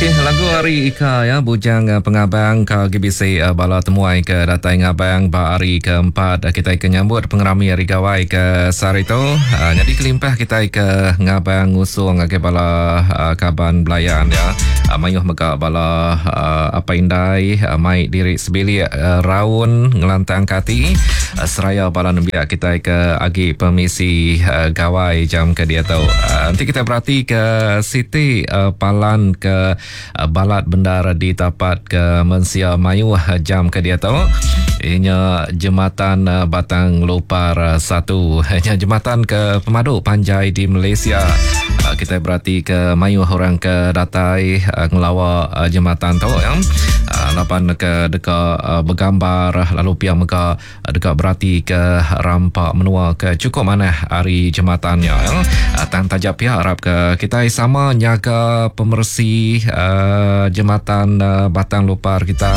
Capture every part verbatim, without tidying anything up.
Okey, lagu ari Ika ya Bujang eh, Pengabang ka agi bisi eh, bala temuai ke datai ngabang ba hari keempat eh, kitai ke nyambut pengerami Hari Gawai ke sehari tu. Uh, nyadi kelimpah kitai ke ngabang ngusung ngagai bala uh, kaban belayan ya. Uh, mayuh mega bala uh, apai indai uh, mai diri sebilik uh, raun ngelantang ke ati uh, seraya bala nembiak kitai ke agi pemisi uh, gawai jam ke diatu. Uh, enti kita berati ke siti uh, palan ke uh, balat bendar ditapat ke mensia mayuh jam ke diatu inya jematan uh, Batang Lupar satu. Inya jematan ke pemadu panjai di Malaysia. Uh, kita berati ke mayuh orang ke datai uh, ngelawa uh, jematan tu ya. Uh, laban ke deka uh, begambar lalu pia mega uh, deka berati ke rampa menua ke cukup manah ari jematannya ya. Uh, tang taja pia harap ke kita sama nyaga pemersi uh, jematan uh, Batang Lupar kita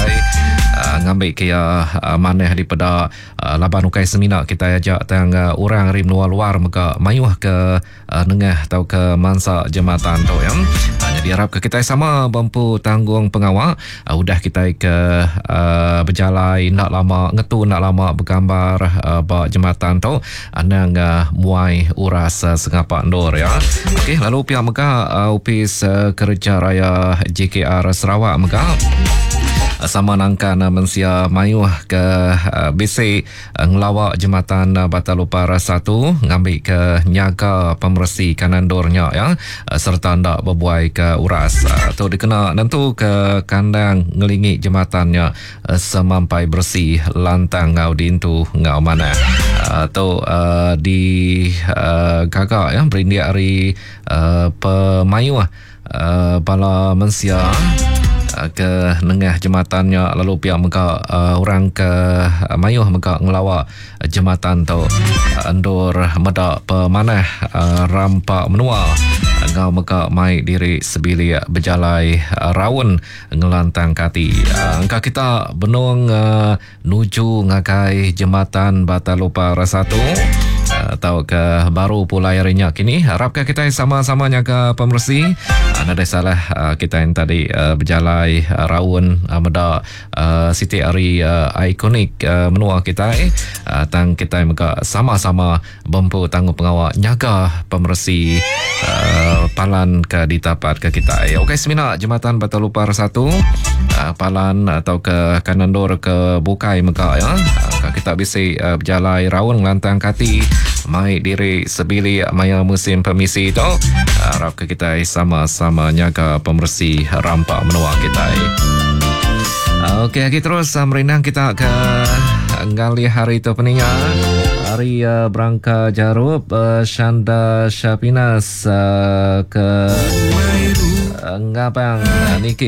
uh, ngambil ke ya uh, manah daripada uh, laban ukai semina kita ajak tang uh, orang ari menua luar mega mayuh ke uh, nengah atau ke mansa jematan tu ya. Uh, jadi harap ke kita sama bempu tanggung pengawa uh, udah kita ke uh, berjalai nak lama ngetu nak lama bergambar uh, ba jematan tu anang uh, muai uras uh, sengapa ndur ya. Okey, lalu pihak mega uh, Opis uh, Kerja Raya J K R Sarawak mega sama nangkan uh, mensia mayuh ke uh, bisi uh, ngelawak jematan uh, Batang Lupar satu ngambil ke nyaga pemersi kanan dornya ya uh, serta ndak berbuai ke uras uh, tu dikena nentu ke kandang ngelingi jembatannya uh, semampai bersih lantang ngau dintu ngau mana uh, tu uh, di uh, gagak ya berindik hari uh, pemayuh uh, bala mensia ke nengah jembatannya lalu pihak mega uh, orang ke uh, mayuh mega ngelawak jembatan tu uh, endur medak pemanah uh, rampak menua ngau mega mai diri sebilik berjalai uh, raun ngelantang kati. Uh, engka kita benung uh, nuju ngagai jembatan Batang Lupar satu atau ke baru pulai harinya kini harapkan kita sama-sama nyaga pemersi. Ada salah kita yang tadi berjalai raun meda siti hari ikonik menua kita tang kita mega sama-sama bempu tanggung pengawal nyaga pemersi palan ke ditapat ke kita. Okey, semina jembatan Batang Lupar satu palan atau ke kanandor ke bukai mega ya. Kita bisi berjalai raun ngelantang kati mai diri sebilik maya musim permisi tu. Harap ke kita sama-sama nyaga pemersi rampak menua kita. Okey, lagi terus merindang kita ke ngalih hari tu peningat. Hari uh, Berangka Jarup uh, Shanda Syapinas uh, ke uh, Ngabang uh, Niki